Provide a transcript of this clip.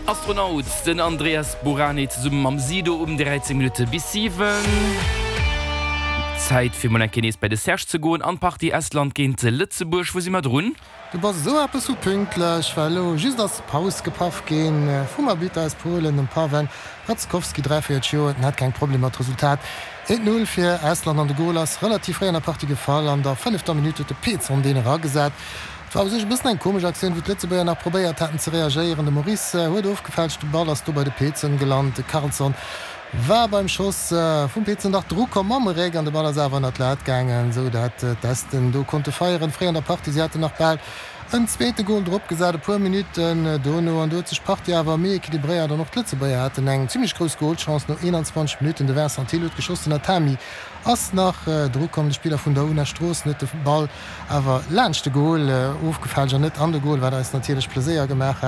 Astronaut, den Andreas Bourani zesumme mam Sido um 13 Minutte bis 7. Zäit fir mol eng Kéier nees bei de Serge ze goen an d'Partie Estland géint Lëtzebuerg. Wou si mer drun? Du bass esou eppes vu pünktlech, well elo just ass Paus gepaff ginn vum Arbitter aus Polen, dem Paweł Raczkowski, 43 Joer. Den hat keng Problemer, d'Resultat 1, 0 fir Estland an de Gol ass relativ fréi an der Partie gefall. An der fënnefter Minutt huet de Peetson deen eragesat. Et war u sech e bëssen eng komesch Aktioun, wou d'Lëtzebuerger nach probéiert haten ze reagéieren. De Maurice huet ofgefälscht, de Ball ass do bei de Peetson gelant. De Karlsson war beim Schoss vum Peetson nach drukomm mam Réck an de Ball ass awer ënnert d'Lat gaangen, esou dat d'Esten do konnte feieren. Fréi an der Partie, si haten nach bal en zweete Gol drop gesat, e puer Minutten dono an do huet sech d'Partie awer méi equilibréiert an och d'Lëtzebuerger haten eng zimmlech grouss Golchance no 21 Minutten. De Vincent Thill huet geschoss, den Atami ass nach drukomm, de Spiller vun der una Stroossen huet de Ball awer laanscht de Gol ofgefälscht an net an de Gol, wat eis natierlech Pleséier gemaach hat.